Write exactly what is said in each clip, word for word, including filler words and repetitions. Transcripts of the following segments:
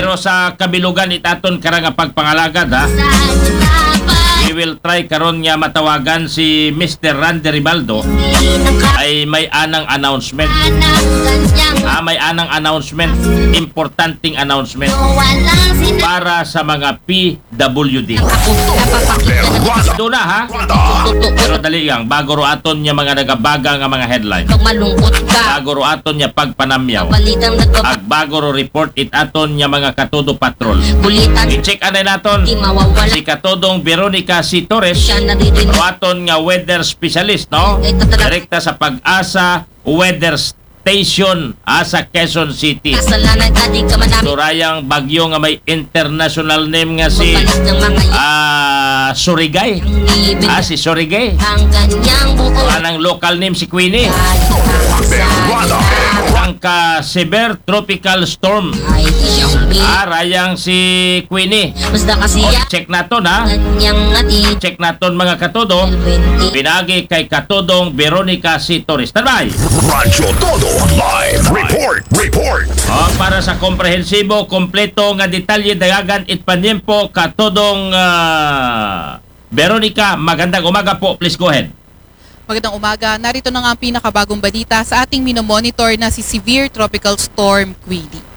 Pero sa kabilugan it aton karang nga pagpangalagad, ha. We will try karon nga matawagan si Mister Randy Ribaldo. Ay may anang announcement. Ah, may anang announcement. Importanteng announcement para sa mga P W D. Doon na, ha? Pero dali lang, bago ro aton nga mga nagabaga nga mga headline. Pag malungkot ka, bago ro aton nga pagpanamyaw, balitang nagpap- ag bago ro report it aton nga mga Katodo Patrol. Kulitan, i-check anay naton, di mawawala, si Katodong Veronica C. Torres, siya naririnig, ro aton nga weather specialist, no? Direkta sa Pag-asa Weather Station, ah, sa Quezon City. Kasalanan ka, di ka manami. Surayang bagyo nga may international name nga si, ah, Surigay. Ah, si Surigay. Ang kanyang buo. Anang local name si Queenie. Ang ka severe tropical storm. Ah, rayang si Queenie. Basta kasi, o, check naton, ha? Kanyang ngati. Check naton, mga Katodo. Pinagi kay Katodong Veronica C. Torres. Standby! Radyo Todo Live Report. Report. O, para sa komprehensibo, kompleto nga detalye, dayagan it panyempo, Katodong, ah, Veronica, magandang umaga po. Please go ahead. Magandang umaga. Narito na nga ang pinakabagong balita sa ating minomonitor na si Severe Tropical Storm Queenie.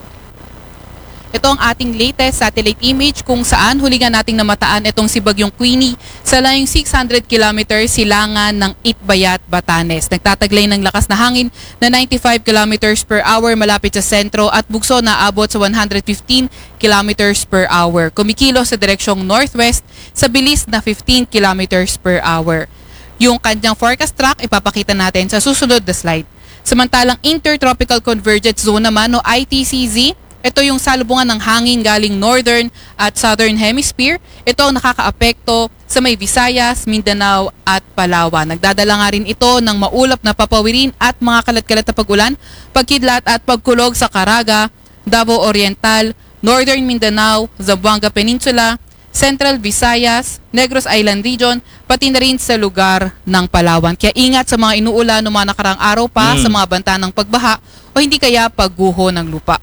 Ito ang ating latest satellite image kung saan huli nga nating namataan itong si Bagyong Queenie sa layong six hundred kilometers silangan ng Itbayat, Batanes. Nagtataglay ng lakas na hangin na ninety-five kilometers per hour malapit sa sentro at bugso na abot sa one hundred fifteen kilometers per hour. Kumikilos sa direksyong northwest sa bilis na fifteen kilometers per hour. Yung kanyang forecast track, ipapakita natin sa susunod na slide. Samantalang Intertropical Convergence Zone naman o I T C Z, ito yung salubungan ng hangin galing northern at southern hemisphere. Ito ang nakakaapekto sa may Visayas, Mindanao at Palawan. Nagdadala nga rin ito ng maulap na papawirin at mga kalat-kalat na pag-ulan, pagkidlat at pagkulog sa Caraga, Davao Oriental, Northern Mindanao, Zamboanga Peninsula, Central Visayas, Negros Island Region, pati na rin sa lugar ng Palawan. Kaya ingat sa mga inuulan ng mga nakarang araw pa, mm, sa mga banta ng pagbaha o hindi kaya pagguho ng lupa.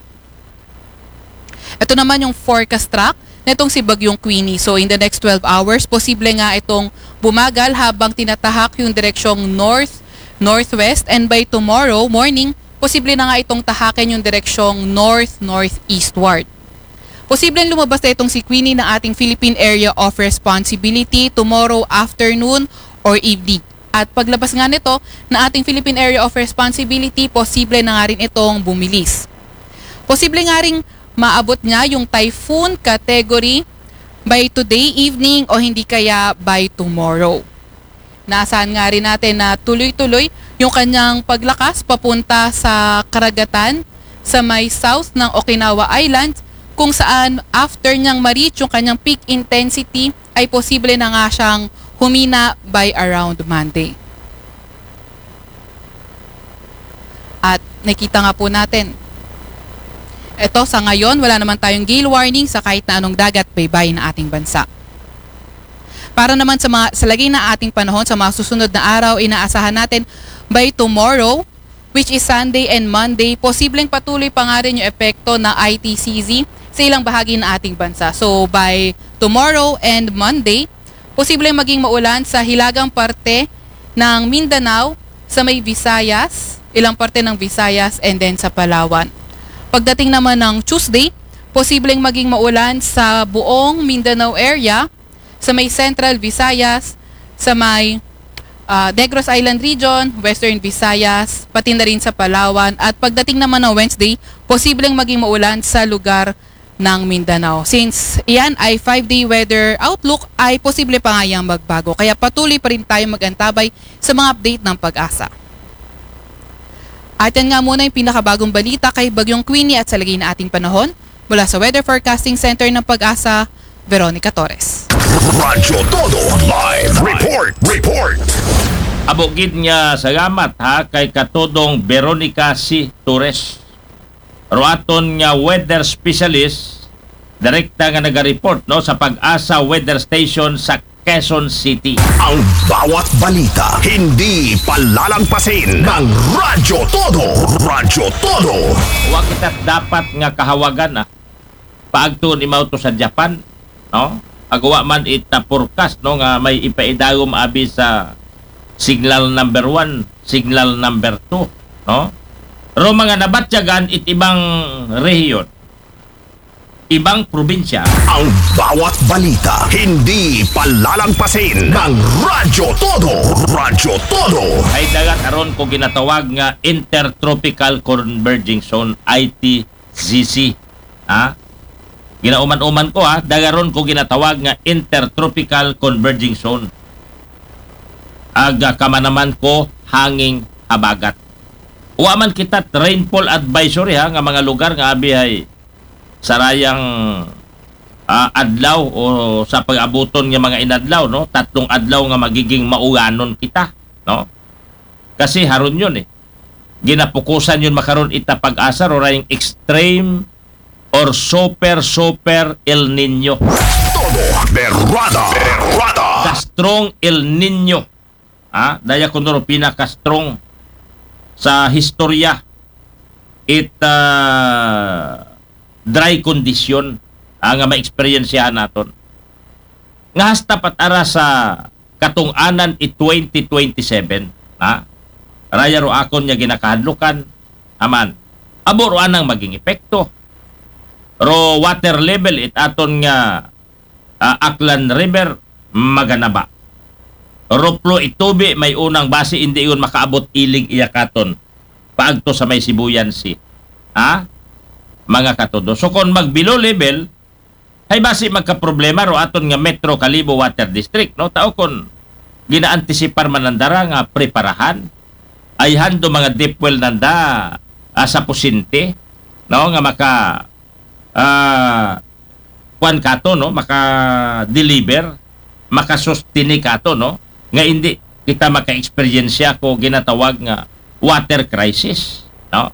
Ito naman yung forecast track nitong si Bagyong Queenie. So in the next twelve hours, posible nga itong bumagal habang tinatahak yung direksyong north, northwest, and by tomorrow morning, posible na nga itong tahakin yung direksyong north, northeastward. Posibleng lumabas na itong si Queenie ng ating Philippine Area of Responsibility tomorrow afternoon or evening. At paglabas nga nito na ating Philippine Area of Responsibility, posible na nga rin itong bumilis. Posible nga rin maabot niya yung typhoon category by today evening o hindi kaya by tomorrow. Naasahan nga rin natin na tuloy-tuloy yung kanyang paglakas papunta sa karagatan sa may south ng Okinawa Island, kung saan after niyang ma-reach yung kanyang peak intensity ay posible na nga siyang humina by around Monday. At nakita nga po natin, eto sa ngayon, wala naman tayong gale warning sa kahit na anong dagat baybayin ng ating bansa. Para naman sa mga, sa lagay ng ating panahon sa mga susunod na araw, inaasahan natin by tomorrow, which is Sunday and Monday, posibleng patuloy pa nga rin yung epekto ng I T C Z sa ilang bahagi ng ating bansa. So by tomorrow and Monday, posibleng maging maulan sa hilagang parte ng Mindanao, sa may Visayas, ilang parte ng Visayas, and then sa Palawan. Pagdating naman ng Tuesday, posibleng maging maulan sa buong Mindanao area, sa may Central Visayas, sa may, ah, Negros Island Region, Western Visayas, pati na rin sa Palawan. At pagdating naman ng Wednesday, posibleng maging maulan sa lugar ng Mindanao. Since iyan ay five-day weather outlook, ay posible pa nga yang magbago. Kaya patuloy pa rin tayo mag-antabay sa mga update ng Pag-asa. At yan nga muna yung pinakabagong balita kay Bagyong Queenie at sa lagay na ating panahon. Mula sa Weather Forecasting Center ng Pag-asa, Veronica Torres. Radyo Todo Live Report. Report. Amo gid nga salamat, ha, kay Katodong Veronica C. Torres. Ro aton nga weather specialist, direkta nga naga-report, no, sa Pag-asa Weather Station sa Quezon City. Ang bawat balita, hindi palalagpasin ng Radyo Todo. Radyo Todo. Wa kita dapat nga kahawagan, ah. paagto imaw to sa Japan, no? Agawa man it, ah, forecast, no, nga may ipaidagom abi sa signal number one, signal number two, no? Ro mga nabatyagan it ibang rehiyon, ibang probinsya. Ang bawat balita, hindi palalampasin ng Radyo Todo. Radyo Todo. Ay dagat aron ko ginatawag nga Intertropical Converging Zone, I T Z C. Ha? Ginauman-uman ko, ha, dagaron ko ginatawag nga Intertropical Converging Zone. Ag, ah, kamanaman ko hanging habagat. Wa man kita rainfall advisory, ha, nga mga lugar nga abi ay sarayang, ah, adlaw o sa pag-abuton nga mga inadlaw, no? Tatlong adlaw nga magiging mauganon kita, no? Kasi haron yun eh. Ginapukusan yun makaron ita pag-asa, ro rayang extreme or super, super El Nino. Todo berrada, berrada. The strong El Nino. Ah, daya kuno ro pinaka-strong sa historya it, ah, dry condition, ah, nga maeksperiensyahan naton. Nga hasta pat ara sa katung-anan it twenty twenty-seven, ha? Raya ro akon nga ginakahadlukan, aman. Abo ro anang maging epekto. Ro water level it aton nga, ah, Aklan River maganaba. Ro plo it tubi may unang basi indi iyon makaabot ilig iya katon. Paagto sa may Sibuyan Sea. Ha? Mga katudo. So kung mag below level, ay basi magkaproblema ro aton nga Metro Kalibo Water District, no? Tao kon ginaantisipar man nanda ra nga preparahan, ay hando mga deep well nanda, ah, sa Pusinte, no? Nga maka, ah, kuan kato, no? Maka-deliver, makasustini kato, no? Nga hindi kita maka-eksperyensya ko ginatawag nga water crisis, no?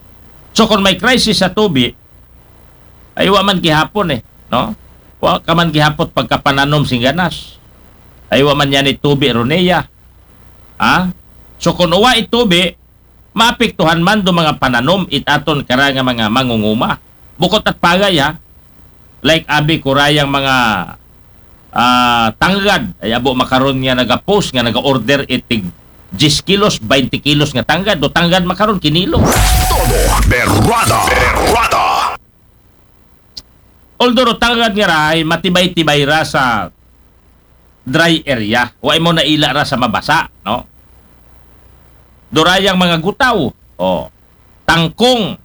So kung may crisis sa tubi, ay wa man gihapon eh, no? Wa ka man gihapot pagkapananom sing ganas. Ay wa man yan itubi ro niya. Ha? So kung uwa itubi, maapektuhan man do mga pananom it aton kara nga mga mangunguma. Bukot at pagay ha. Like abi kurayang mga, ah, tanggad. Ay abo makaron nga nagapost nga naga-order itig diyes kilos, baynte kilos nga tanggad. Do tanggad makaron kinilo. Todo berrada. Berrada. Although ro tanggad nga rahay, matibay-tibay ra sa dry area. Wa mo naila ra sa mabasa, no? Durayang mga gutaw, oh, tangkong,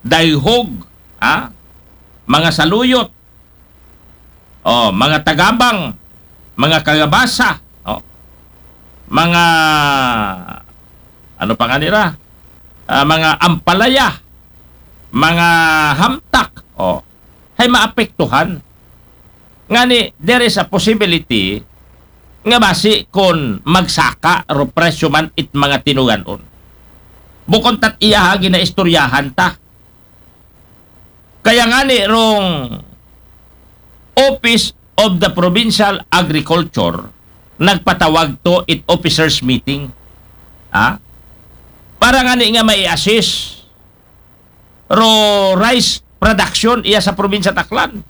dayhog, ha? Mga saluyot, oh, mga tagabang, mga kagabasa, oh, mga, ano pa nga nira? Ah, mga ampalaya, mga hamtak, oh, hay maapektuhan. Ngani, there is a possibility nga basi kon magsaka ro presyo man it mga tinuganon. Bukon tat iya ha ginaistoryahan ta. Kaya ngani rong Office of the Provincial Agriculture nagpatawag to it officers meeting. Ha? Para ngani nga mai-assess ro rice production iya sa probinsya Aklan.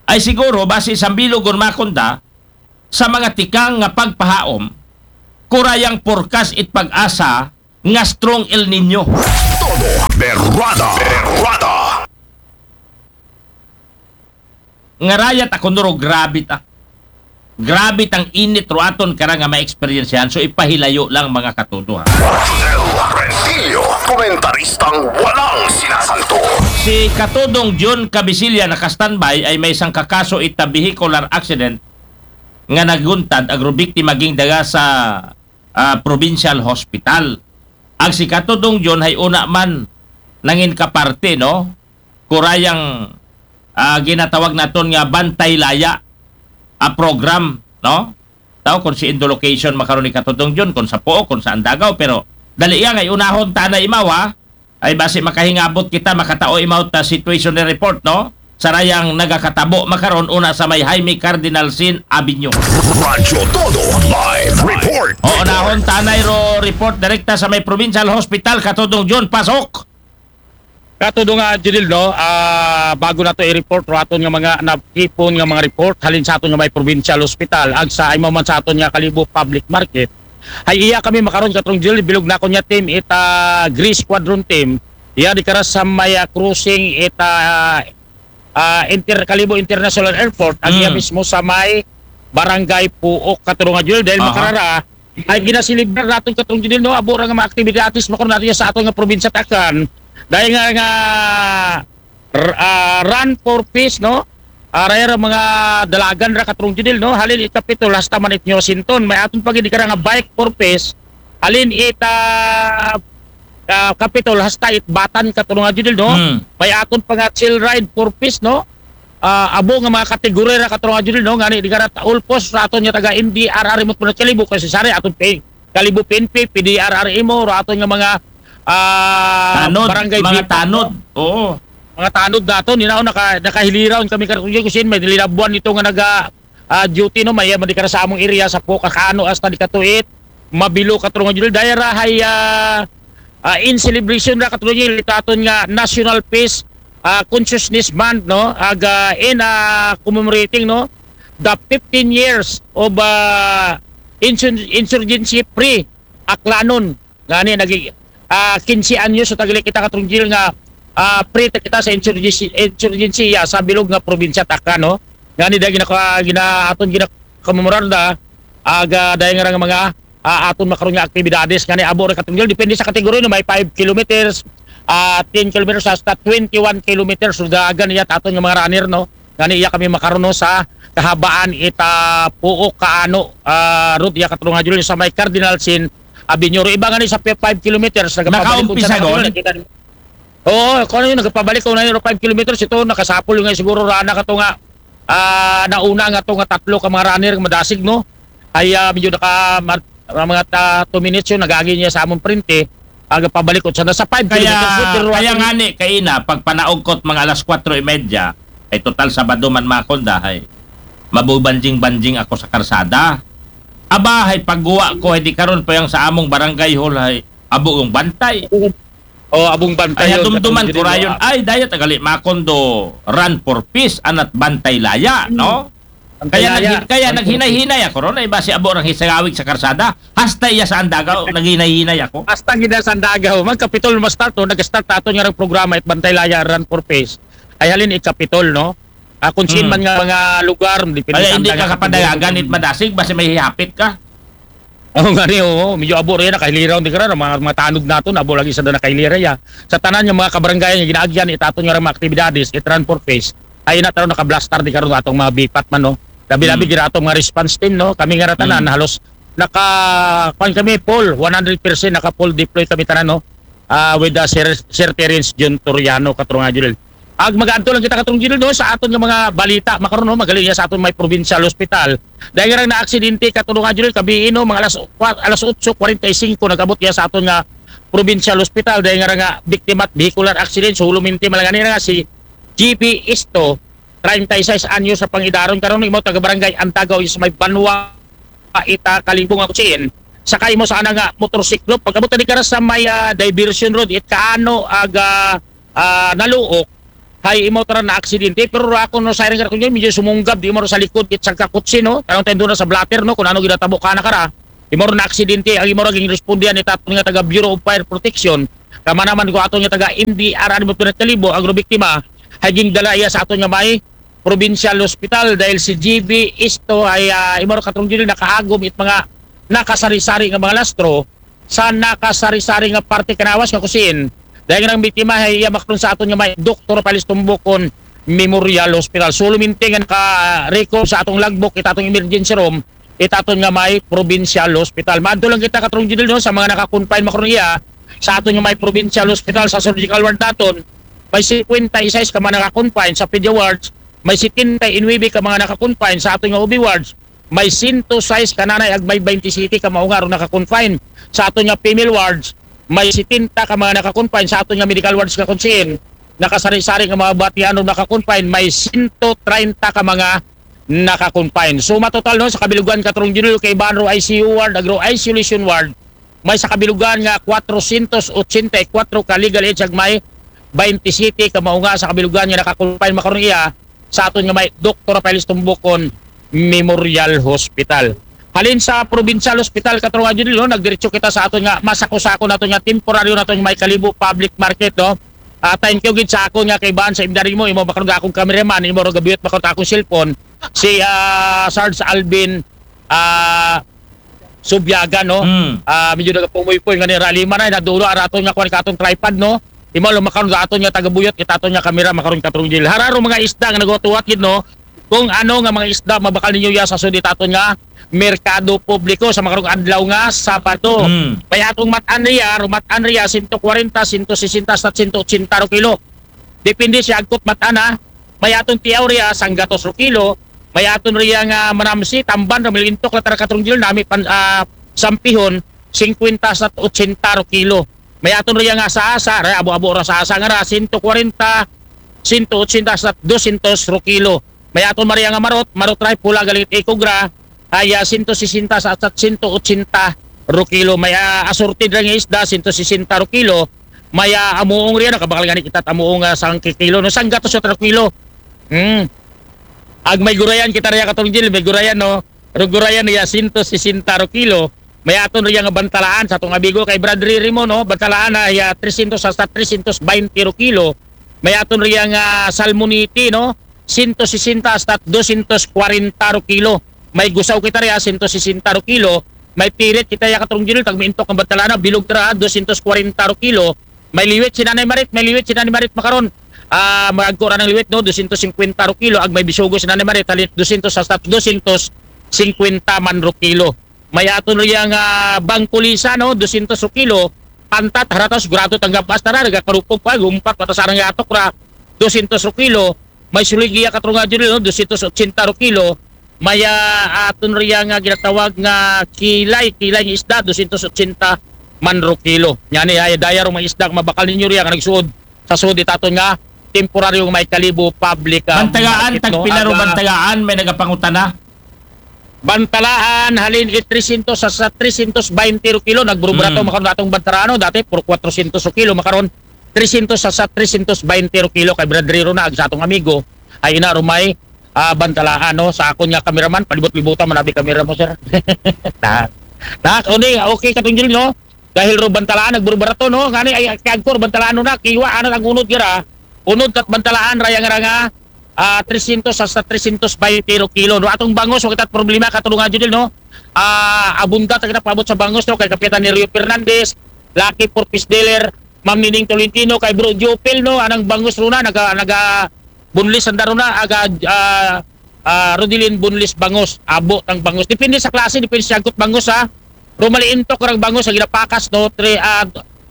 Ay siguro, basi sa bilog kon makunda, sa mga tikang nga pagpahaom, kurayang forecast it pag-asa nga strong El Nino. Todo berrada. Berrada. Nga rayat ako nuro, grabe ta. Grabe tang init ro aton kara nga maeksperiensyahan. So ipahilayo lang mga katudo ha. Rodel Rentillo, komentaristang walang sinasanto. Si Katudong John Cabisilla naka-standby ay may isang kakaso ita vehicular accident nga naguntad agro biktima ging daga sa, ah, provincial hospital. Ag si Katudong John hay una man nangin kaparte, no? Kurayang, ah, ginatawag naton nga Bantay Laya, ah, program, no? Tao kung si Indo location makaron ni Katudong John, kung sa Pook, kung sa Andagaw, pero dali iya ngay unahon ta na imaw, ha? Ay basi makahingabot kita, makatao imaw ta situation ni report, no? Sarayang nagakatabo makaron una sa may Jaime Cardinal Sin Avenue. Radyo Todo live report. O, unahon ta nay ro report direkta sa may Provincial Hospital, Katudong John, pasok. Kato do nga, Judil, no, ah, bago nato i-report ro aton nga mga natipon nga mga report halin sa aton nga may provincial hospital, ag sa imaw man sa aton nga Kalibo Public Market, ay iya kami makaron, Katrong Judil, bilog na ko niya team, ita Gray Squadron team, iya di kara sa may, ah, crossing, ita, ah, Inter-, Kalibo International Airport, ag iya Mm. mismo sa may Barangay Puok, Katrong Judil, dahil Aha. makarara, ay ginasilibrar naton, Katrong Judil, no, abo ra nga mga aktibidades makaron nato sa aton nga probinsya Takan. Dahil nga, nga r-, ah, Run for Peace, no? Aray ra mga dalagan ra, Katrong Judil, no? Halin it Capitol hasta man it New Washington. May aton pa gid kara nga Bike for Peace. Halin it, ah, ah, Capitol hasta it Batan, Katrong Judil, no? Hmm. May aton pa nga Chill Ride for Peace, no? Ah, abo nga mga kategorya ra, Katrong Judil, no? Ngani di kara ta-, ulpos ra aton nga taga M D R R imo, Kalibo, kasi sari aton pay Kalibo P N P, P D R R imo, ra aton nga mga, ah, Tanod, barangay mga bipat, no? tanod. Oo. Mga tanod naton, you know, naka, nakahiliraw kami, Katrong Judil, kusin may linabuan nito nga naga, ah, duty, no, may, ah, di kara sa among area sa Puok, Kaano, hasta di katuit Mabilo, Katrong Judil, dahil ra hay, ah, ah, in celebration ra, Katrong Judil, ito aton nga National Peace, ah, Consciousness Month, no, ag, ah, in, ah, commemorating, no, the fifteen years of, ah, insur-, insurgency free Aklanon. Ngani nagi, ah, kinse anyos so tagili kita, Katrong Judil, nga, ah, free ta kita sa insurgency, insurgency, ah, sa bilog nga probinsya Takan, no? Ngani dahil ginaka-, gina-, aton ginakomemorar da, aga dahil nga mga, ah, aton makaron nga aktibidades, ngani abo ra, Katrong Judil, depende sa kategorya, no, may five kilometers, ah, ten kilometers hasta twenty-one kilometers, so dagan iya aton nga mga runner, no? Ngani iya kami makaron, no, sa kahabaan ita Puok, Kaano, ah, road iya, Katrong Judil, sa may Cardinal Sin Avenue. Iba ngani sa five kilometers, nagapabalik Nakaumpisa unsa na, doon? Katrong Judil, kita. Oo, kung ano yun, nagpabalik ko na yun, five kilometers, ito, nakasapol nga siguro rana ka to nga, ah, nauna nga to nga tatlo ka mga runner, madasig, no? Ay, ah, medyo naka, ma-, mga ta-, two minutes yun, nagagi niya sa among printe, aga pabalik ko sa, sa five Kaya, kilometers, no? Pero kaya ato- nga ni, kaina, pag panaog ko't mga alas kwatro y medya, ay total Sabado man, Makonda, ay mabubanjing-banjing ako sa karsada. Aba, ay pagguwa ko, ay di karon pa yung sa among barangay hall, ay abo yung bantay. Oh, abong bantay Kaya yun, dumduman Katrong ko Judil, rayon, ah. Ay, daya tagali, Makondo, Run for Peace, anat bantay laya, Hmm. no? Bantay Kaya, Laya. naghi- kaya Bantay naghinay-hinay ako ron, ay basi abo rang hisagawig sa karsada, hasta iya sa Andagaw, naghinay-hinay ako. Hasta gina sa Andagaw. Magkapitol, ma-start, no? Nag-start ato nga rang programa, it Bantay Laya, Run for Peace. Ay halin, ikapitol, no? Ah, kung saan Hmm. man nga mga lugar, depende Kaya sa hindi Andagaw, ka kapadayagan, it madasig, basi may hihapit ka. Oo nga ni, oo. Medyo abo rin, nakahiliraw, di ka rin, mga, mga tanod nato, abo lagi sa nakahilira, ya. Sa tanan nga mga kabarangay nga ginaagyan, it aton nga mga aktibidades, it Run for Peace, ay na taron nakablastar, di karon atong mga bipat man, no? Labi-labi, Hmm. gira atong mga response team, no? Kami nga ratanan, Hmm. halos naka, kuwan kami, full, one hundred percent naka full deploy kami tanan, no? Ah, with the Sir, Sir Terence Jun Toriano, Katrong Judil. Ag mag-adto lang kita, Katrong Judil, no, sa aton nga mga balita makaron, no, magaling niya sa aton may provincial hospital. Dahil nga na aksidente, Katrong Judil, kabiin, no, mga alas, kwa-, alas otso kwarenta y singko, nag-abot niya sa aton nga provincial hospital. Dahil nga nga biktima at vehicular accident, so huluminti malangani nga si G P Isto, treinta y seis anyos sa pangidaron. Karon imo taga barangay Andagaw is may banwa ita Kalibo nga kutsiin. Sakay mo sa ana nga motorsiklo. Pag-abot na di ka ra sa may, ah, diversion road, it Kaano aga, ah, Naluok, hay imo tara na aksidente. Pero ra ako no siren ka kunya, medyo sumunggab, di mo ra sa likod, it sa kakutsi, no? Kanang tendo na sa blotter, no? Kung ano ginatabo ka na kara. Imo ra na aksidente, ang imo ra ging respondihan ni taton nga taga Bureau of Fire Protection. Kama naman ko ato nga taga M D R, ano mo, Kalibo, ang biktima, hay ging dala iya sa aton nga may provincial hospital dahil si G B Isto ay, ah, imo ra, Katrong Judil, nakaagom it mga nakasari-sari nga mga lastro sa nakasari-sari nga parte kanawas nga kusiin. Dahil nga ang biktima ay iya makaron sa aton nga may Doktor Palistumbo kon Memorial Hospital. So, luminti nga naka-record sa atong logbook, it atong emergency room, it aton nga may provincial hospital. Maadto lang kita, Katrong Judil, no, sa mga naka-confine makaron iya sa aton nga may provincial hospital sa surgical ward naton. May singkwenta y seis ka mga naka-confine sa pedia wards, may setenta y nuebe ka mga naka-confine sa aton nga O B wards, may sento sais ka nanay ag may baynte siyete ka mao nga aron naka-confine sa aton nga female wards, may setenta ka mga naka-confine sa aton nga medical wards nga kutsiin, nakasari-sari nga mga batian ron naka-confine, may sento treinta ka mga naka-confine. So, matotal, no, sa kabilugan, Katrong Judil, kay ban ro I C U ward, agro isolation ward, may sa kabilugan nga kwatrosyentos otsenta y kwatro ka legal age ag may twenty-seven ka mao nga sa kabilugan nga naka-confine makaron iya sa aton nga may Doktor Rafael Tumbukon Memorial Hospital. Halin sa Provincial Hospital, Katrunga Judil, no, nagdiretso kita sa aton nga masako-sako nato nga temporaryo nato nga may Kalibo Public Market, no. Ah, thank you gid sa akon nga kaibahan sa imdari mo, imo makaron nga akong cameraman, imo ra gabiyot makaron akong cellphone. Si ah, Sarge Alvin ah, Subiagan, no? Mm. Ah, medyo nagapumoy-poy nga ni Ralima na, nadulo ang aton nga kuwan katong tripod, no? Imo lang makaron sa aton nga tagabuyot, itaton nga kamera makaron Katrunga Judil. Hararo mga isda nga naghuwat-huwat gid, no? Kung ano nga mga isda mabakal ninyo ya sa sudi taton nga merkado publiko sa makarong adlaw nga Sabado. Mm. May atong matan riya, rumatan riya, sento kwarenta, sento sesenta, hasta sento otsenta ro kilo. Depende siya agkot matan, ha. May atong tiyaw riya, sanggatos ro kilo. May aton riya nga manamsi, tamban, ra milintok la tara Katrunga Judil, nami pan, ah, sampihon, singkwenta sa otsenta ro kilo. May aton riya nga asa-asa, ra abo-abo ra asa-asa nga ra, sento kwarenta, sento otsenta sa dosyentos ro kilo. May aton man riya nga marot, marot ra pula galing Ikogra, ay ah, sento sesenta sa, sa sento otsenta ro kilo. May ah, assorted ra nga isda, sento sesenta ro kilo. May ah, amuong riya, nakabakal gani kita amuong ah, sangki kilo, no, sanggatos ro kilo. Hmm. Ag may gurayan kita riya Katrunga Judil, may gurayan, no. Ro gurayan niya sento sesenta ro kilo. May aton riya nga bantalaan sa atong amigo kay Brad Riri mo, no. Bantalaan na iya tresyentos hasta tresyentos baynte ro kilo. May aton riya nga salmonete, no. Sento sesenta hasta dosyentos kwarenta ro kilo. May gusaw kita riya, sento sesenta ro kilo. May pirit kita ya Katrunga Judil, tag miintok ang bantalaan na, bilog tara, dosyentos kwarenta ro kilo. May liwit si Nanay Marit, may liwit si Nanay Marit makaron. Ah, magagko ra ng liwit, no, dosyentos singkwenta ro kilo, ag may bisugo si Nanay Marit, halin dosyentos hasta dosyentos singkwenta man ro kilo. May aton riya nga bangkulisa, no, dosyentos ro kilo, pantat, haratas, gurato, tanggap, basta na, nagakarupog pa, gumpat, mata sa nga atok ra, dosyentos ro kilo. May suligiya Katrunga Judil, no, dosyentos otsenta ro kilo. May ah, aton riya nga ginatawag nga kilay, kilay nga isda, dosyentos otsenta man ro kilo. Yan eh, ay daya ro mga isda, mabakal ninyo riya, nga nagsuod, sa suod itaton nga, temporaryo nga may Kalibo public ah, Bantagaan, market, no? tagpila ro Aga- bantagaan, may nagapangutana. Bantalaan, halin it tresyentos sa, sa tresyentos baynte ro kilo, nagburubrato Mm. makaron atong bantalaan, no? Dati, puro kwarosyentos ro kilo, makaron tresyentos sa, sa tresyentos baynte ro kilo, kay Brad Riro na, ag sa atong amigo, ay ina ro may ah, bantalaan, no? Sa akon nga kameraman, palibot-libutan man abi kamera mo, sir. na, na, o di, okay, Katrunga Judil, no? Dahil ro bantalaan, nagburubrato, no? Ngani, ay, kagkor, bantalaan no na, kiwa, ano, ang unod gira, unod kat bantalaan, raya nga ra nga, ah, tresyentos hasta tresyentos baynte ro kilo, no? Atong bangos, wa kita problema, Katrunga Judil, no? Ah, abunda ta kita paabot sa bangos, no? Kay Kapitan ni Rio Fernandez, Lucky Four Piece Dealer, Ma'am Nining Tolentino, kay Bro Jopel, no? Anang bangos ro na, naga, naga, bunlis ang daruna, aga, ah, ah, Rodilin bunlis bangos, abo tang bangos. Depende sa klase, depende sa agkot bangos, ha. Ro maliintok rang bangos, ang ginapakas, no, tre, ah,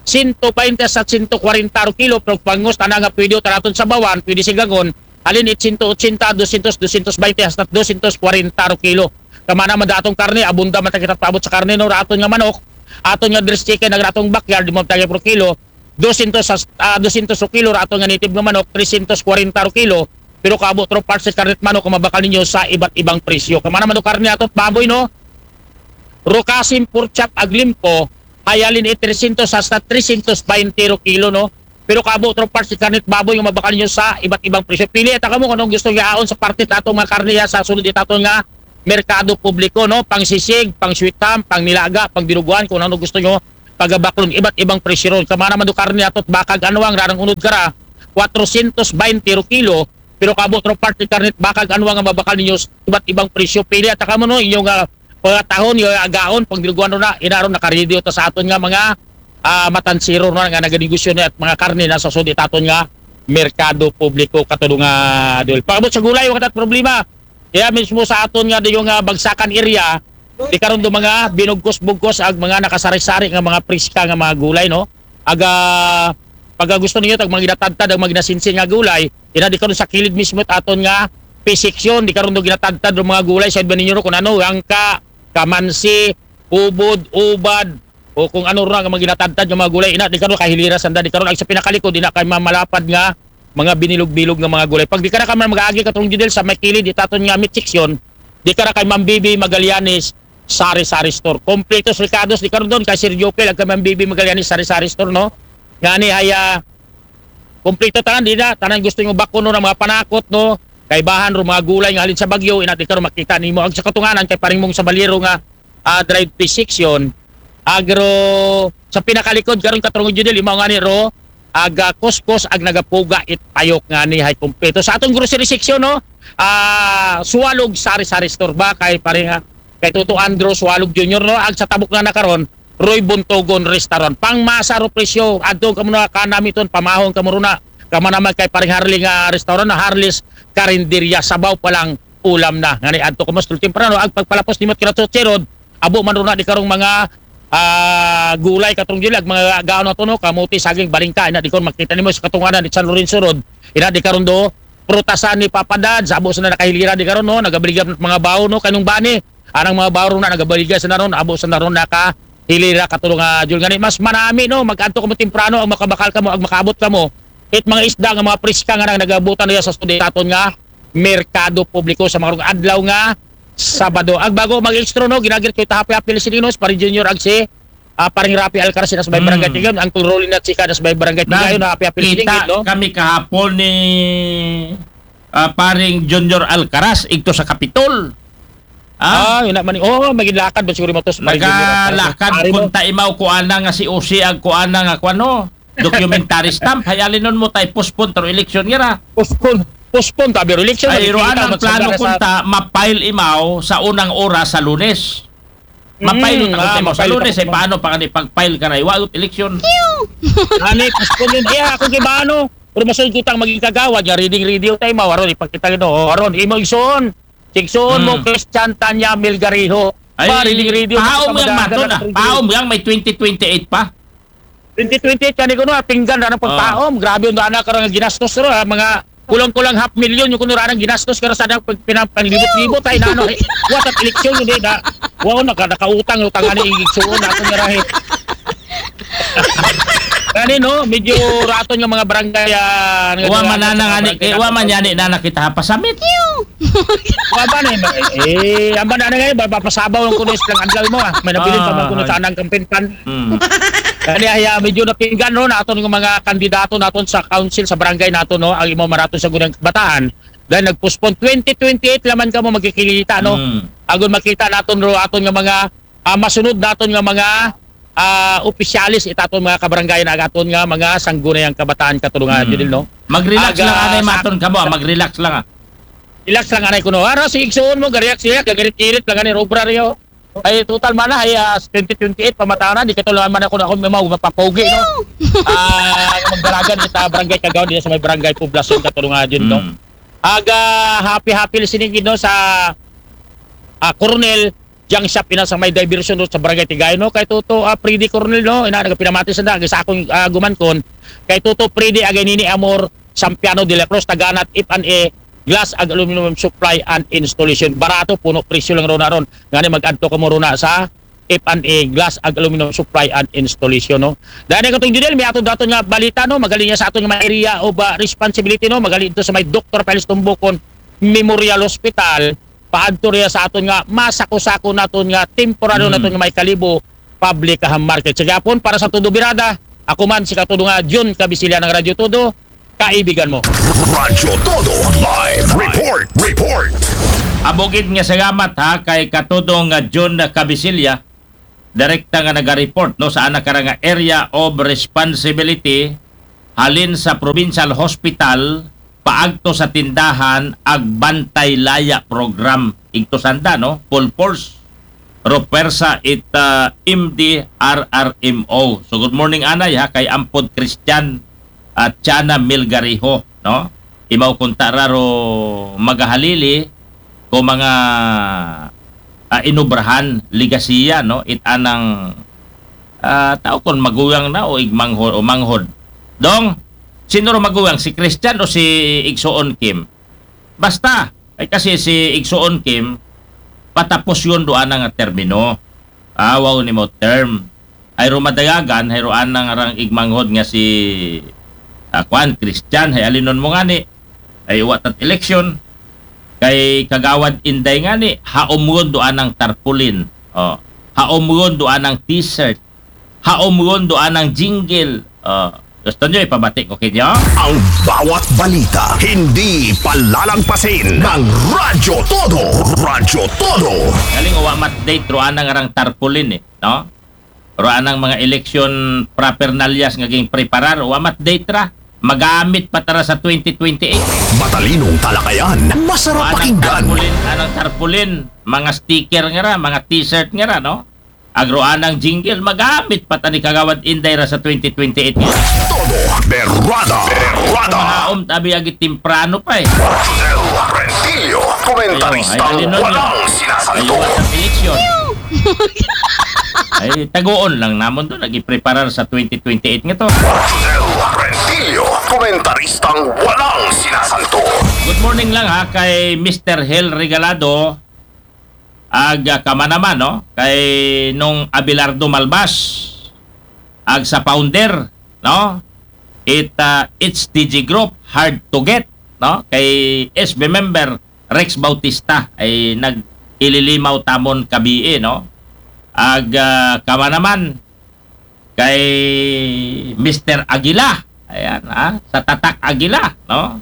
sento baynte sa sento kwarenta ro kilo, pero bangos, tana nga pwede, tanaton sa bawan, pwede sigangon, halin it sento otsenta, dosyentos, dosyentos baynte, hasta dosyentos kwarenta ro kilo. Kamana man da atong karne, abunda man ta kita paabot sa karne, no, ra aton nga manok, aton nga dress chicken, ag ra atong backyard, di mo tagi pro kilo, dosyentos sa, ah, dosyentos ro kilo, ra aton nga native nga manok, tresyentos kwarenta ro kilo, pero kaabot ro parts sa karne it manok, kung mabakal ninyo sa iba't ibang presyo. Kamana man do karne ato, baboy, no? Ro kasim, pork chop, ag limpo, ay halin it tresyentos hasta tresyentos baynte ro kilo, no? Pero kaabot ro parts sa karne it baboy nga mabakal ninyo sa iba't ibang presyo. Pili ta kamo kung anong gusto nga aon sa parte sa atong mga karne ya sa sulod itaton nga merkado publiko, no? Pang sisig, pang sweet ham, pang nilaga, pang binuguan, kung ano gusto nyo pagabaklon, iba't ibang presyo ron. Kamana man do karne ato it baka ag anwang, ra rang unod kara, kwarosyentos baynte ro kilo, pero kaabot ro parts sa karne it baka ag anwang nga mabakal ninyo sa iba't ibang presyo. Pili ta kamo, no, inyo nga pagkatahon, inyo agaon, pang binuguan ro na, ina ro, nakaready ta sa aton nga mga ah, matansero na nga naganegosyo na it mga karne na sa sulod itaton nga merkado publiko, Katrunga Judil. Pagabot sa gulay, wa kita it problema. Kaya mismo sa aton nga diyo nga bagsakan area, di karon do mga binugkos-bugkos ag mga nakasari-sari nga mga priska nga mga gulay, no? Aga, pagka gusto ninyo tag mga ginatadtad ag mga ginasinsin nga gulay, ina di karon sa kilid mismo it aton nga P section, di karon do ginatadtad do mga gulay, sa iba ninyo ro kung ano, angka, kamansi, ubod, ubad, o kung ano ra nga mga ginatadtad nga mga gulay, ina di karon kahilira sanda, di karon ag sa pinakalikod, ina kay mamalapad nga mga binilog-bilog nga mga gulay. Pag di ka na ka man mag-aagi, Katrunga Judil, sa may kilid itaton nga meat section, di ka na kay Ma'am Bibi Magallanes Sari-Sari Store. Kompletos rekados di karon don kay Sir Jopel ag kay Ma'am Bibi Magallanes Sari-Sari Store, no? Ngani ay ah, Kompleto tanan, di na, tanan gusto nyo bakon, no, ng mga panakot, no? Kaibahan ro mga gulay nga halin sa Baguio, ina di karon makita nimo ang sa katunganan kay paring mong sa Baliro nga, ah, dried fish section, agro sa pinakalikod karon, Katurong Judel, imaw nga ni ro, aga kuskus ag nagapuga it payok nga ni hay kompleto. Sa atong grocery section, no? Ah, Suwalog Sari-Sari Store ba kay paring, ah, kay Toto Andrew Suwalog Junior, no? Ag sa tabok na na karon, Roy Buntogon Restaurant. Pangmasa ro presyo, adto kamo na kanamiton, pamahon kamo runa. Kama naman kay paring Harley nga restaurant, na Harley's Carinderia, sabaw pa lang, ulam na. Ngani adto kamo sa temprano, ag pagpalapos nimot kina Totse Rod, abo man runa di karong mga, ah, gulay, Katurong Judel, ag mga gaon na to, no, kamote, saging, balingka, ina di karon makita nimo sa katunganan ni San Lorenzo Road, ina di karon do, prutasan ni Papa Dad, sa abo sa na nakahilira di karon, no, nagabaligan mga bawo, no, kanong bani, anang mga bawo na nagabaligan sa naron, abo sa naron naka hilira, Katurong, ah, Judel, ngani mas manami, no, mag-adto kamo temprano, ang makabakal kamo, ang makaabot kamo it mga isda nga mga priska nga nang nagabutan niya sa sudi taton nga merkado publiko sa mga adlaw nga Sabado. Ag bago mag-extra, no, ginagir ko ita happy happy listening, no, sa Pare Junior ag si, ah, Paring Rafi Alcaraz na sa may barangay Tigayon, Uncle Rolly na Chika na sa may barangay Tigayon, na happy happy listening, no? Kami kahapon ni, ah, Paring Junior Alcaraz, igto sa Kapitol. Ah, yun naman. Oh, maging lakad ba siguro mo to sa Pare Junior Alcaraz, no? Nagalakad kung taimaw ko ana nga si Usi ag ko ana nga kuan, no? Documentary stamp, hay alinon mo tay postpone taro eleksyon ngira. Postpone, postpone ta biro eleksyon. Ay, ro anang plano kung ta ma-file imaw sa unang oras sa Lunes. Ma-file ta kung ta imaw sa Lunes, ay paano pa kani pag-file ka na, iwagot eleksyon. Ani, postpone yun. Ay, ako kay ba ano? Pero masud ko tang maging kagawad, ya reading radio tayo, mawaron, ipakita yun, oh, aron, imo igsoon. Igsoon mo, Christian Tanya Milgariho. Ay, ba, reading radio, pahaom yang maton, ah. Pahaom yang may twenty twenty-eight pa. Twenty twenty-eight, kani ko, no, pinggan na ng pagpaom. Grabe yung daan na karang ginastos, ro, ah, mga kulang-kulang half million yung kuno ranang ginastos karo sa nang pag-, pinang-, panglibot-libot ay na, ano, eh, what at eleksyon yun, eh, na, wow, naka-, nakautang, utang, ano, igsuon na ako nga rahe. Kani, no, medyo raton nga mga barangay, ah, nga wa man na nga ni, eh, wa man yan, eh, na nakita ha, pasamit. Wa ba na, eh, ang ba na nga, ba, papasabaw ang kuno islang adlaw mo, ah. May nabilin pa man kuno sa anang kampinpan. Mm. Kani, ay, ah, medyo napinggan, no, naton nga mga kandidato naton sa council, sa barangay naton, no, ang imo maraton sa gunang bataan. Dahil nag-postpone twenty twenty-eight laman kamo magkikita, no? Mm. Agon makita naton ro aton nga mga, ah, masunod naton nga mga, ah, opisyalis itaton mga kabarangay na agaton nga mga sanggunayang kabataan katulungan, mm, Judel, no? Mag-relax lang, anay, maton kamo, ah, mag-relax lang, ah. Relax lang, anay, kuno. Ara, si igsuon mo, gariyak siya, gagarit-irit lang, anay, obra riyo. Ay, total man na, ay, ah, twenty twenty-eight, pamataw na, di ka tuloy man ako na ako, may mga mapapogi, no? Ah, magdalagan kita, barangay Kagaw, dito sa may barangay Poblacion, katulungan, Judel, no? Mm. Aga, happy, happy listening, no, sa, ah, Coronel, Junk Shop, ina sa may diversion road sa Barangay Tigayon, no? Kay Toto, ah, Freddy Coronel, no? Ina, nagpinamati sa dagi sa akong, ah, gumankon. Kay Toto Freddy, agay nini Amor, Sampiano de la Cruz, taganat F and A, Glass ag Aluminum Supply and Installation. Barato, puno presyo lang ron na ron. Ngani mag-adto kamo ron na sa F and A, Glass ag Aluminum Supply and Installation, no? Dahil katong Judel, may ato daton nga balita, no? Magaling niya sa aton nga mga area of, ah, responsibility, no? Magaling ito sa may Doktor Piles Tumbukon Memorial Hospital, paadto riya sa aton nga masako-sako naton nga temporaryo naton nga may Kalibo Public, ah, Market. Sa gihapon, para sa Todo Birada, ako man si Katudo nga Jun Kabisilya ng Radyo Todo, kaibigan mo. Radyo Todo Live Report. Report. Abogid nga salamat, ha, kay Katudong, ah, Jun Kabisilya, direkta nga naga-report, no, sa anak kara nga area of responsibility, halin sa provincial hospital paagto sa tindahan ag Bantay Laya program. Igto sanda, no, full force ro pwersa it, ah, M D R R M O. So, good morning, anay, ha, kay Ampod Christian at Chana Milgariho, no? Imaw kunta ra ro magahalili ko mga, ah, inubrahan, legasiya, no? It anang, ah, tao kon magulang na o igmanghod o manghod. Dong, sino ro magulang, si Christian o si Igsoon Kim? Basta, ay kasi si Igsoon Kim, patapos yun do anang termino. Ah, wow, ni mo term. Ay ro madagagan, hay ro anang arang igmanghod nga si, ah, kuan, Christian, hay alinon mo ngani, ay uwa tat eleksyon, kay Kagawad Inday ngani, haumgon do anang tarpaulin. Oh, haumgon do anang t-shirt. Haumgon do anang jingle. Oh, Gusto nyo ipabati ko kinyo? Ang bawat balita, hindi palalagpasin ng Radyo Todo. Radyo Todo. Galing, wa ma-update ro anang arang tarpaulin eh, no? Ro anang mga eleksyon paraphernalias nga ging preparar, wa ma-update ra. Magamit pa ta ra sa twenty twenty-eight. Matalinong talakayan, masarap Anang pakinggan. tarpaulin, anang tarpaulin, mga sticker nga ra, mga t-shirt nga ra, no? Ag ro anang jingle, magamit pa ta ni Kagawad Inday ra sa twenty twenty-eight. Todo Berrada. Berrada. Naom tabi agi temprano pa eh. Josel Rentillo, komentaristang Ayo, ay, alin nun walang yun? sinasanto. Ayun, sa eleksyon. Ay, tagoon lang namon doon, nag-preparar sa twenty twenty-eight nga to. Josel Rentillo, komentaristang walang sinasanto. Good morning lang ha kay Mister Hel Regalado, ag ah, kamanaman, no? Kay Nong Abelardo Malbas, ag sa founder, no? It ah, H T G Group, Hard to Get, no? Kay S B member Rex Bautista ay nag-ililimaw tamon kabii, no? Ag ah, kamanaman kay Mister Aguila. Ayan, ha? Sa Tatak Aguila, no?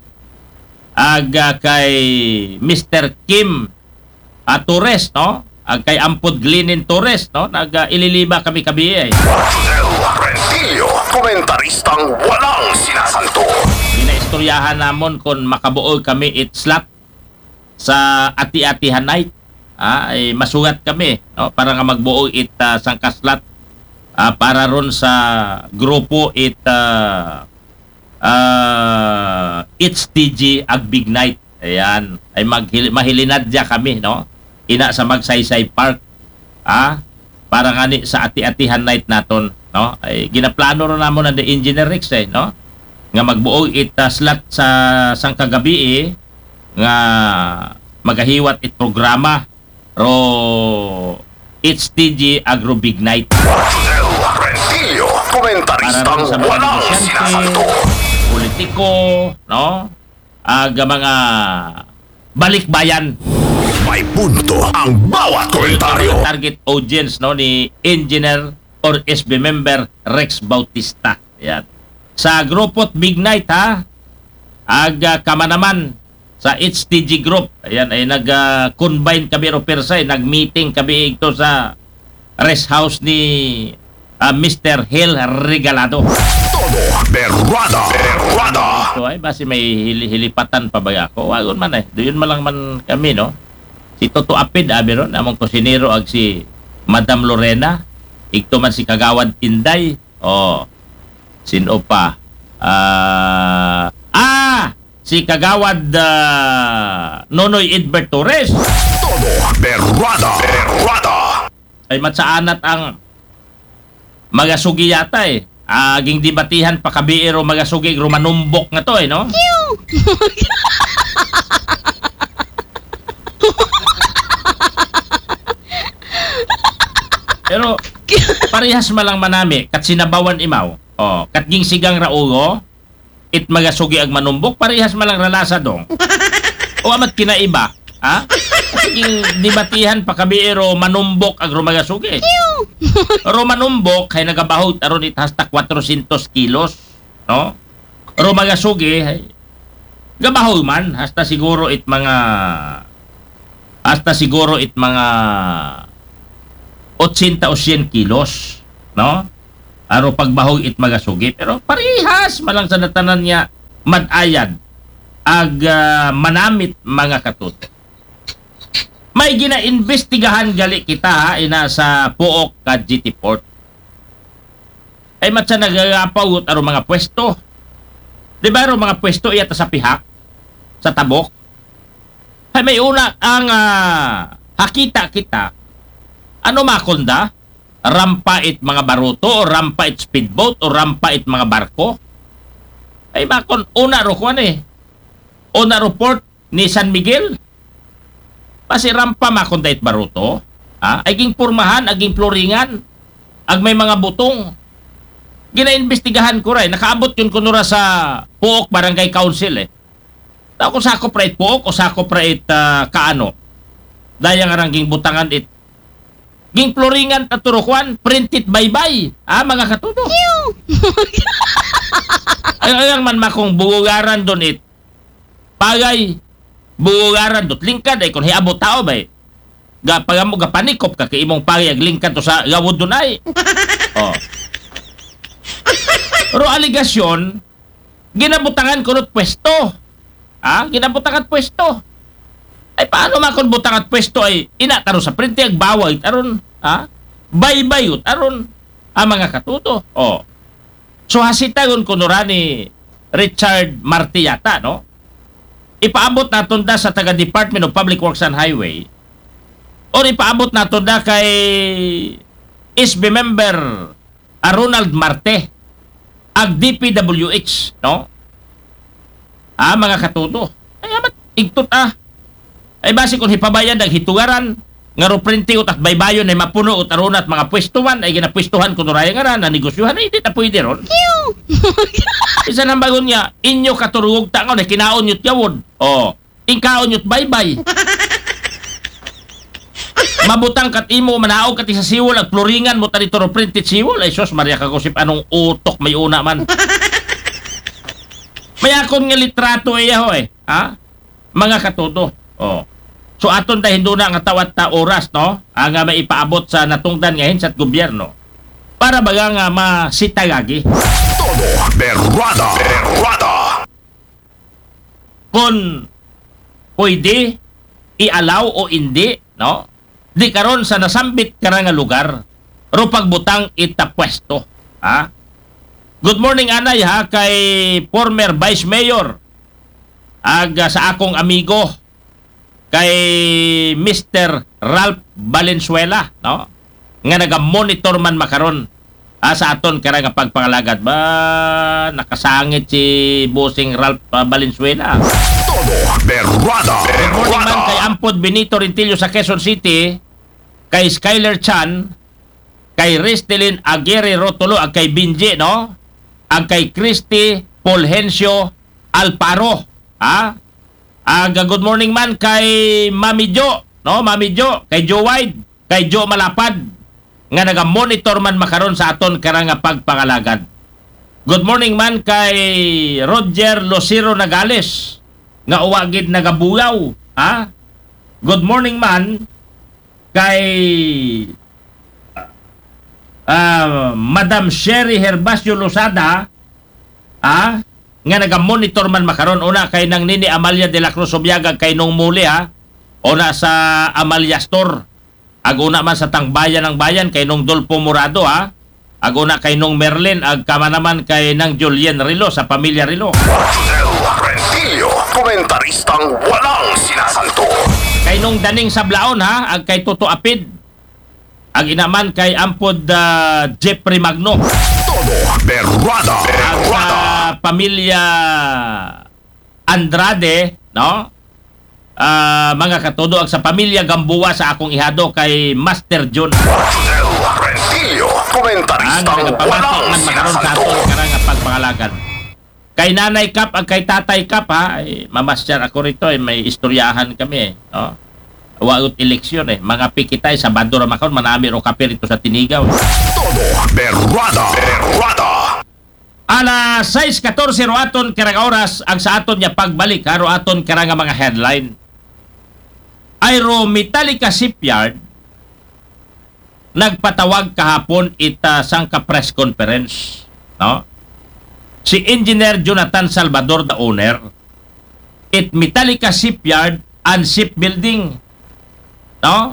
Ag ah, kay Mister Kim ah, Torres, no? Ag kay Ampod Glinin Torres, no? Nag ah, ililima kami kabii eh. Josel Rentillo, komentaristang walang sinasanto. Ginaistoryahan namon kung makabuo kami it slot sa Ati-Atihan Night. Ah, ay masugat kami, no? Para nga magbuo it ah, sangka slot ah, para ron sa grupo it ah, ah, H T G ag Big Night. Ayan, ay maghil- mahilinadya kami, no? Ina sa Magsaysay Park. Ah, para ngani sa Ati-Atihan Night naton, no? Ay ginaplano ro namon ang Engineer Rex eh, no? Nga magbuo it ah, slot sa sangka gabii nga magahiwat it programa ro H T G Agro Big Night. Josel Rentillo, komentaristang Para sa mga walang negosyante, sinasanto. Politiko, no? Ag mga balikbayan. May punto ang bawat komentaryo. Target audience, no, ni Engineer or S B member Rex Bautista. Yan. Sa grupo't Big Night, ha? Ag ah, kamanaman sa H T G Group. Ayan, ay nag-combine kami ro persa, eh. Nag-meeting kami ito sa rest house ni ah, Mister Hel Regalado. Todo Berrada. Berrada. So ay, basi may hili- hilipatan pa ba ako? Wagon man eh. Doon man lang man kami, no? Si Toto Apid, abi ron, among kusinero ag si Madam Lorena. Igto man si Kagawad Inday. Oh, sino pa? Ah, ah! Si Kagawad ah, Nonoy Edbert Torres. Todo Berrada. Berrada. Ay matsaanat ang magasugi yata eh. Ah, ging dibatihan pa kabiiro magasugi rumanumbok nga to eh, no? Pero parehas malang manami kat sinabawan imaw. Oh, kat ging sigang raugo, it magasugi ag manumbok, parehas malang ralasa dong. O amat kinaiba, ha? Sige, dibatihan pa kabiiro manumbok ag rumagasugi. Ro manumbok hay nagabahog aron it hasta kwatrosyentos kilos, no? Ro magasugi hay gabahog man hasta siguro it mga hasta siguro it mga otsenta o syen kilos, no? Aro pagbahog it magasugi, pero parihas malang sa natanan niya mad-ayad ag ah, manamit mga katut. May ginaimbestigahan gali kita ha, ina sa Pook ka G T Port. Ay matsa nagagapaw aro mga pwesto. Di ba aro mga pwesto iyata sa pihak? Sa tabok? Ay may una ang ah, hakita kita. Ano makonda? Rampa it mga baruto o rampa it speedboat o rampa it mga barko? Ay makon una ro kuan eh. Una ro port ni San Miguel. Pasi rampa makon dait baruto. Ha? Ay ging pormahan, aging floringan, ag may mga butong. Ginaimbestigahan ko ray. Nakaabot yun kunura sa Pook Barangay Council eh. Tao kung sakop ra it Pook o sakop ra it ah, kaano. Dayang arang ging butangan it ging floringan ta turukuan, printed baybay. Ah, mga katudo. Ay, ay, ang man makong bugugaran doon it. Pagay, bugugaran do't lingkad ay kung hiabot tao ba eh. Ga, pagamo, gapanikop ka kay imong pagay ag lingkad to sa gawod doon ay. Oh. Pero aligasyon, ginabutangan ko nut pwesto. Ha? Ginabutangan pwesto. Ay, paano makon butangan pwesto ay ina taro sa printe ag baway taron? Ha? Baybay ut aron. Ah, mga katuto. Oh. So, hasitagon ko nura ni Richard Marte yata, no? Ipaabot naton da sa taga Department of Public Works and Highway or ipaabot naton da kay S B member a Ronald Marte ag D P W H, no? Ah, mga katuto. Ay, amat, igtot ah. Ay, basi kung hipabayan, naghitugaran, nga ro printi utak baybayon ay mapuno ut arunat mga pwestuhan, ay ginapwestuhan ko nuraya nga na, nanegosyohan, ay, di na pwede ron. Isa nang bagon niya, inyo katurugog tangaw na kinaon niyo't yawod. Oh, tingkaon niyo't baybay. Mabutang kat imo, manaog kat sa siwol, ag pluringan mo tadi turo printit siwol. Ay, sus, Maria Kagusip, anong utok may una man? May akon nga litrato iya, ho, eh. Ha? Mga katuto. Oh. So, aton da hinduna nga tawat ta oras, no? Ang nga maipaabot sa natungdan nga hinsat gobyerno. Para baga nga masitagagi. Todo berwada. Berwada. Kung pwede, i-allow o hindi, no? Di karon sa nasambit kara nga lugar, ro pagbutang ita pwesto. Ha? Good morning, anay, ha, kay former Vice Mayor, ag, ah, sa akong amigo, kay Mister Ralph Valenzuela, no? Nga naga-monitor man makaron, ah, sa aton kara nga pagpangalagad. Ba, nakasangit si Bossing Ralph, ah, Valenzuela. Todo berwada. Good morning man kay Ampod Benito Rentillo sa Quezon City, kay Skyler Chan, kay Restelin Aguirre Rotolo, ag kay Binji, no? Ag kay Christy Fulgencio Alparo, ha? Ag, ah, good morning man kay Mami Jo, no? Mami Jo, kay Joe Wide, kay Joe Malapad, nga naga-monitor man makaron sa aton kara nga pagpangalagad. Good morning man kay Roger Lucero Nagales, nga uwa gid nagabuyaw, ha? Good morning man kay, ah, Madam Sherry Herbacio Lozada, ah, nga naga-monitor man makaron, una kay Nang Nini Amalia de la Cruz Subiaga, kay Nung Muli, ha, una sa Amalia Store, ag una man sa Tangbayan ng Bayan kay Nung Dolpo Morado, ha, ag una kay Nung Merlin, ag kama naman kay Nang Julien Rilo sa pamilya Rilo. Rosel Rentillo, komentaristang walang sinasanto. Kay Nung Daning Sablaon, ha, ag kay Toto Apid, ag ina man kay Ampod, ah, Jeffrey Magno. Todo berwada. Ag sa pamilya Andrade, no? Ah, mga katudo, ag sa pamilya Gamboa sa akong ihado kay Master John. Rosel Rentillo, komentaristang walang sinasanto. Ang nagapamati man makaron sa aton karang pagpangalagan. Kay Nanay Kap ag kay Tatay Kap, ha, ay, mamasyar ako rito, eh, may istoryahan kami, eh, no? Wagot eleksyon, eh. Mga pikitay, Sabado ra makaon, manami ro kape rito sa Tinigaw. Todo berwada. Berwada. Alas sais katorse ro aton karang oras, ag sa aton niya pagbalik, ha, ro aton karang mga headline. Ay ro Metallica Shipyard, nagpatawag kahapon ita sangka press conference, no? Si Engineer Jonathan Salvador, the owner, it Metallica Shipyard and Shipbuilding, no?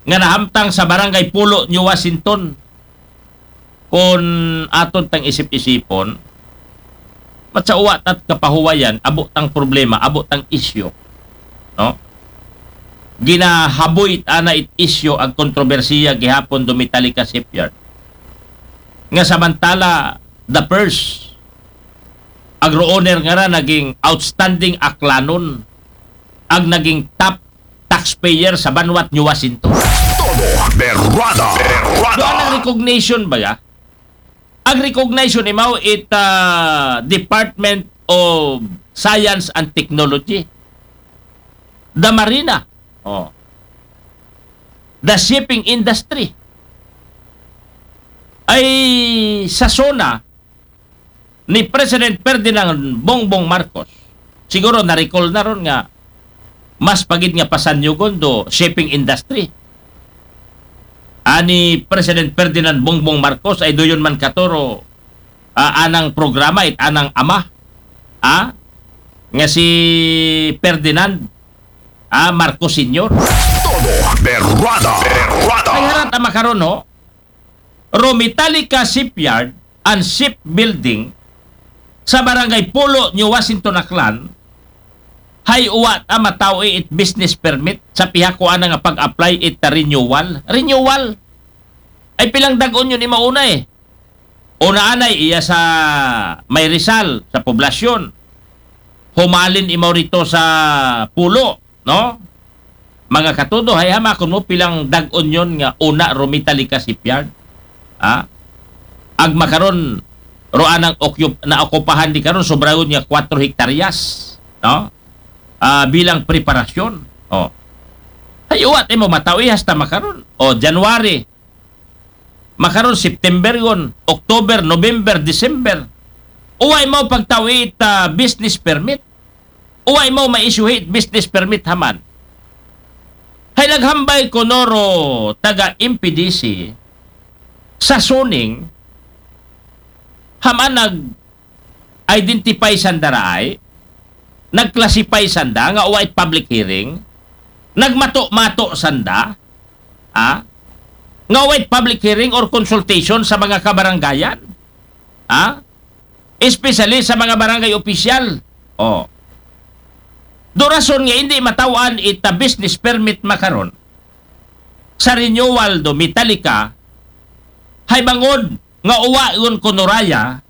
Nga nahamtang sa Barangay Pulo, New Washington. Kung aton tang isip-isipon, mat sa uwa tat kapahuwayan, abo tang problema, abo tang isyu, no? Ginahaboy ana it isyu ag kontrobersiya gihapon do Metallica Shipyard. Nga samantala, the first, ag ro owner nga ra naging outstanding Aklanon, ag naging top taxpayer sa banwat New Washington. Todo berwada. Berwada. Doon ang recognition ba ya? Ang recognition imaw it, ah, Department of Science and Technology. The Marina. Oh. The shipping industry. Ay sa SONA, ni President Ferdinand Bongbong Marcos. Siguro na-recall na ron nga mas pa gid nga pasanyugon do shipping industry. Ani President Ferdinand Bongbong Marcos ay duyon man kato ro, ah, anang programa it anang ama, ah, nga si Ferdinand, ah, Marcos Senior. Todo berrada, berrada. Ay harat ama karon, no? Ro Metallica Shipyard and Shipbuilding sa Barangay Pulo, New Washington, Aklan, hay uwa ta mataw-i it business permit sa pihak ko ana nga pag-apply it renewal. Renewal. Ay pilang dag-on yun imaw una eh. Una anay iya sa may Rizal, sa poblasyon. Humalin imaw rito sa Pulo, no? Mga katudo, hay hamakon mo pilang dag-on yun nga una ro Metallica Shipyard. Ha? Agma karon ro anang okyup-, naokupahan di karon sobrayon nga kwatro hektaryas, no? Ah, bilang preparasyon. Oh. Hay uwa ta mo mataw-i hasta makaron. Oh, January. Makaron September gon, October, November, December. Uwa imaw pagtaw-i it, ah, business permit. Uwa imaw ma-issue it business permit haman. Hay naghambay kuno ro taga M P D C sa Suning, haman nag-identify sanda raay, nag-classify sanda nga uwa it public hearing, nagmato-mato sanda, ah, nga uwa it public hearing or consultation sa mga kabarangayan. Ah? Especially sa mga barangay opisyal. Oh. Do rason nga hindi mataw-an ita business permit makaron sa renewal do Metallica, hay bangod nga uwa yun kuno raya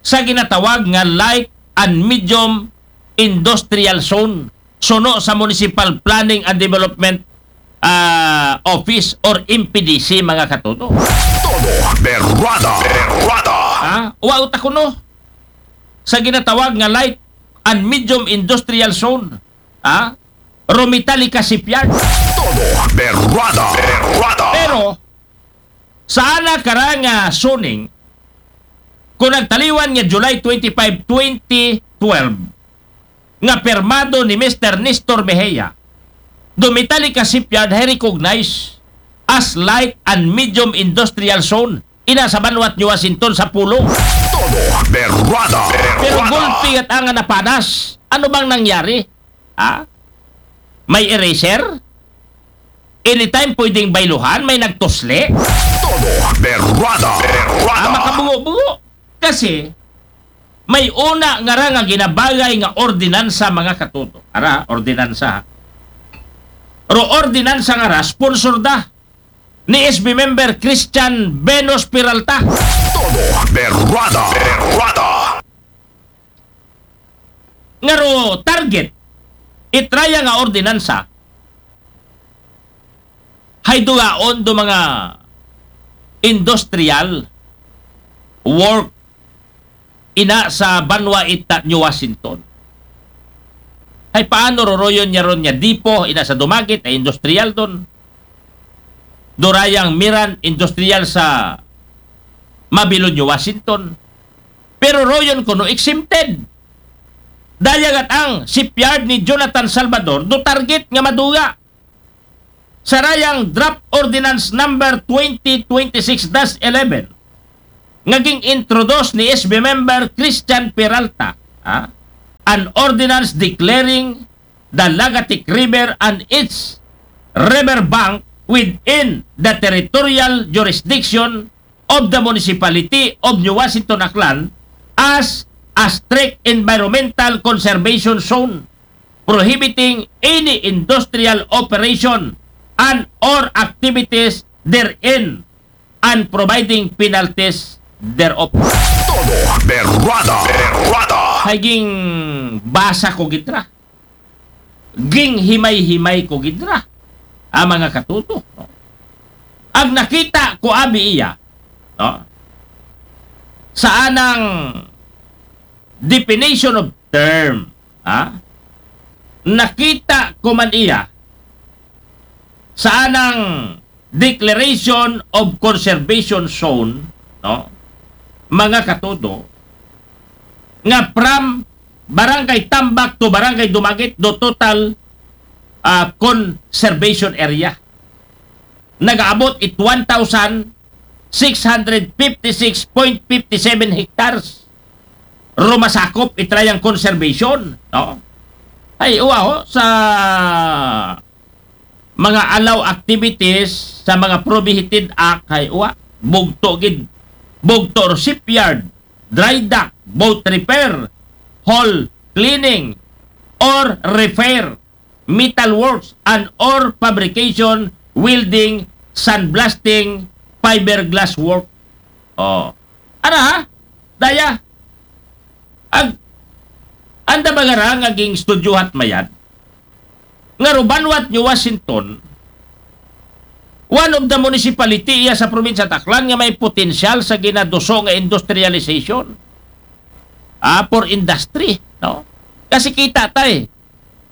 sa ginatawag nga light and medium industrial zone suno sa Municipal Planning and Development, ah, Office or M P D C, mga katudo. Todo berrada, berrada. Ha? Uwa uta kuno sa ginatawag nga light and medium industrial zone. Ha? Ro Metallica Shipyard. Todo berrada, berrada. Pero, sa ana kara nga Suning, kung nagtaliwan nga July twenty-five, twenty twelve, nga pirmado ni Mister Nestor Mejia, do Metallica Shipyard hay recognized as light and medium industrial zone ina sa banwat New Washington sa Pulo. Todo berrada, berrada. Pero gulpi gat nga napanas. Ano bang nangyari? Ha? May eraser? Anytime pwedeng bayluhan, may nagtusli? Todo berrada, berrada. Ah, makabungo-bungo. Kasi, may una nga ra nga ginabagay nga ordinansa, mga katuto. Ara, ordinansa. Ro ordinansa nga ra, sponsor da ni S B member Christian Venus Peralta. Todo berrada, berrada. Nga ro target itraya nga ordinansa hay dugaon do mga industrial work ina sa banwa ita New Washington. Hay paano roroyon niya ron niya dipo ina sa dumagit ay industrial don. Durayang Miran industrial sa Mabilon, New Washington. Pero royon kuno exempted. Dayagat ang shipyard ni Jonathan Salvador do target nga maduga. Sarayang Draft Ordinance Number twenty twenty-six dash eleven nga ging-introduce ni S B member Christian Peralta, ah, an ordinance declaring the Lagatic River and its river bank within the territorial jurisdiction of the Municipality of New Washington, Aklan as a strict environmental conservation zone, prohibiting any industrial operation and or activities therein and providing penalties thereof. Todo berrada, berrada. Hay ginbasa ko gid ra. Ginhimay-himay ko gid ra. Ah, mga katuto, no? Ang nakita ko abi iya, no? Sa anang definition of term, ha? Nakita ko man iya sa anang declaration of conservation zone, no? Mga katuto, nga from Barangay Tambak to Barangay Dumaguete, the total, ah, conservation area nagaabot it one thousand six hundred fifty-six point fifty-seven hectares. Ro masakop it rayang conservation, no? Ay, uwa, ho, sa mga allow activities sa mga prohibited act, ay, uwa, bugto gid, bugto ro shipyard, dry dock, boat repair, hull cleaning, or repair, metal works, and or fabrication, welding, sandblasting, fiberglass work. Oh. Ara, ha? Daya. Ag, anda ba nga ra nga ging-studyohan mayad nga ro banwa it New Washington, one of the municipality iya sa probinsya it Aklan nga may potensyal sa ginaduso nga industrialization, ah, for industry, no? Kasi kita tay,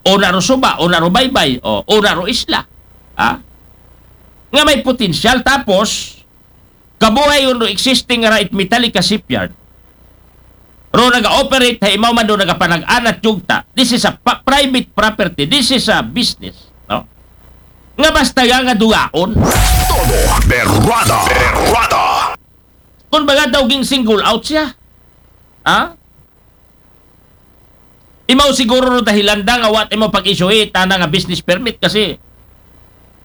o na ro suba, o na ro baybay, o, o na ro isla, ah, nga may potensyal, tapos kabuhay ro existing ra it Metallica shipyard. Ro naga-operate, hay imaw man ro nagapanag-anat yugta. This is a pa-, private property. This is a business, no? Nga basta nga, nga dugaon. Todo berrada. Berrada. Kung baga daw ging-single out siya. Ha? Imaw siguro ro dahilan da nga wa it imaw pag-issue it ana nga business permit kasi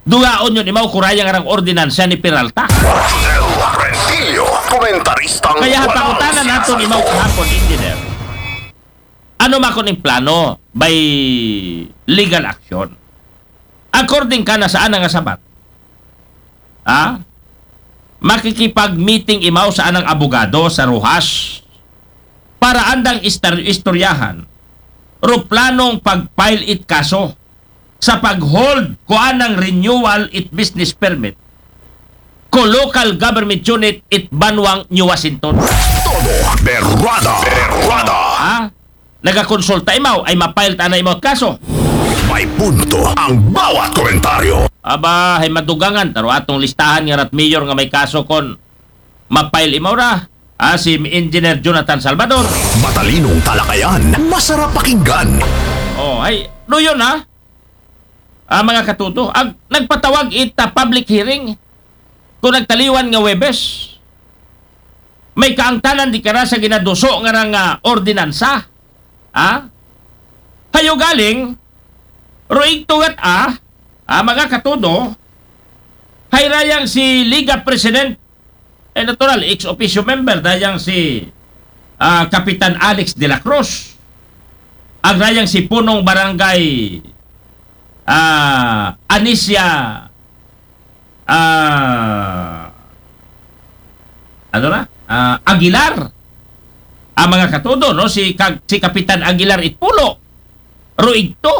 dugaon yun imaw kurayang arang ordinansa ni Peralta. Rosel Rentillo, komentaristang Kaya walang pangutanan naton imaw kahapon, engineer. Ano man kuno it plano by legal action? According kana sa ana nga sabat, ha? Makikipag-meeting imaw sa anang abogado sa Roxas para andang istar-, istoryahan ro planong pag-file it kaso sa pag-hold ko anang renewal it business permit ko local government unit it banwang New Washington. Todo berrada. Berrada. Ha? Nagakonsulta imaw, ay ma-file ta na imaw kaso. May punto ang bawat komentaryo. Aba, hay madugangan ta ro atong listahan nga ra it mayor nga may kaso kon ma-file imaw ra. Ah, si Engineer Jonathan Salvador. Matalinong talakayan, masarap pakinggan. Oh, ay, do yun, ha? Ah, mga katuto, ag nagpatawag it, ah, public hearing kon nagtaliwan nga Huwebes. May kaangtanan di kara sa ginaduso nga rang, ah, ordinansa. Ha? Hay ugaling, ruig tugat, ah, ah, mga katudo, hay rayang si Liga President, eh, natural, ex officio member, dayang si, ah, Kapitan Alex de la Cruz. Ag rayang si Punong Barangay, ah, Anicia, ah, ano na? Ah, Aguilar. Ang mga katudo, no? Si Kag-, si Kapitan Aguilar Itpulo. Ruig to.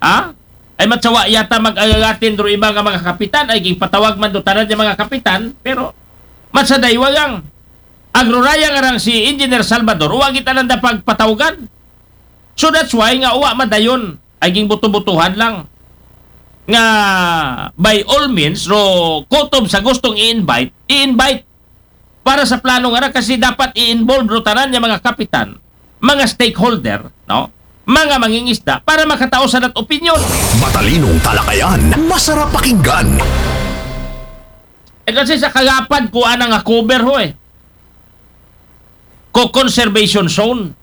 Ha? Ay matsawa yata mag-agagatin do iba nga mga kapitan, ay gipatawag man do tanan nga mga kapitan, pero matsa daywagang agruraya nga rang si Engineer Salvador, wa gitanan da pagpatawgan. So that's why nga wa madayon, ay ging buto-butuhan lang. Nga by all means, ro kutob sa gustong i-invite, i-invite para sa plano nga ra, kasi dapat i-involve ro tanan nga mga kapitan, mga stakeholder, no? Mga mangingisda para makatao sa dat opinyon. Matalinong talakayan, masarap pakinggan. Eh, kasi sa kagapad ko ana nga cover ho eh. Ko conservation zone.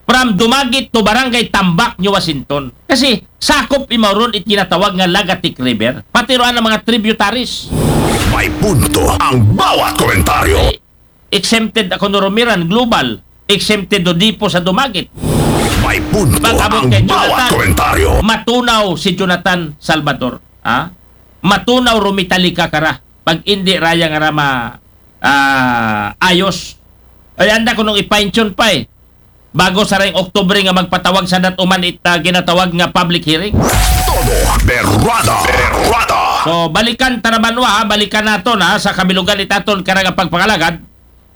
From Dumaguete to Barangay Tambak, New Washington. Kasi sakop imaw ron it ginatawag nga Lagatik River. Pati ro ana mga tributaries. May punto ang bawat komentaryo. Eh, exempted ako no Romiran, global. Exempted do Dipo sa Dumaguete. May punto Pag-abot ang kay bawat Jonathan, komentaryo. Matunaw si Jonathan Salvador. Ha? Matunaw, rumitalika kara. Pag indi raya nga rama, ah, ayos. Ay, anda ko nung i-fine-tune pa eh. Bago sa rayong Oktubre nga magpatawag sa dat uman it, ah, ginatawag nga public hearing. Todo berrada. Berrada. So, balikan ta na banwa, ha? Balikan naton, ha, sa kabilugan it aton karang pagpangalagad.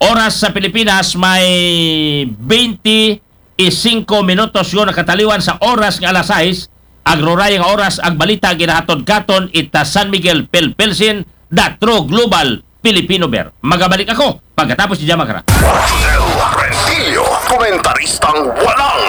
Oras sa Pilipinas may twenty-five minutos yun nakataliwan sa oras nga alas sais. Agroraya nga oras, ag balita ginahatod katon ita San Miguel Pilpilsin, The True Global Filipino Bear. Magabalik ako pagkatapos ni Jamakara. Rosel Rentillo, komentaristang walang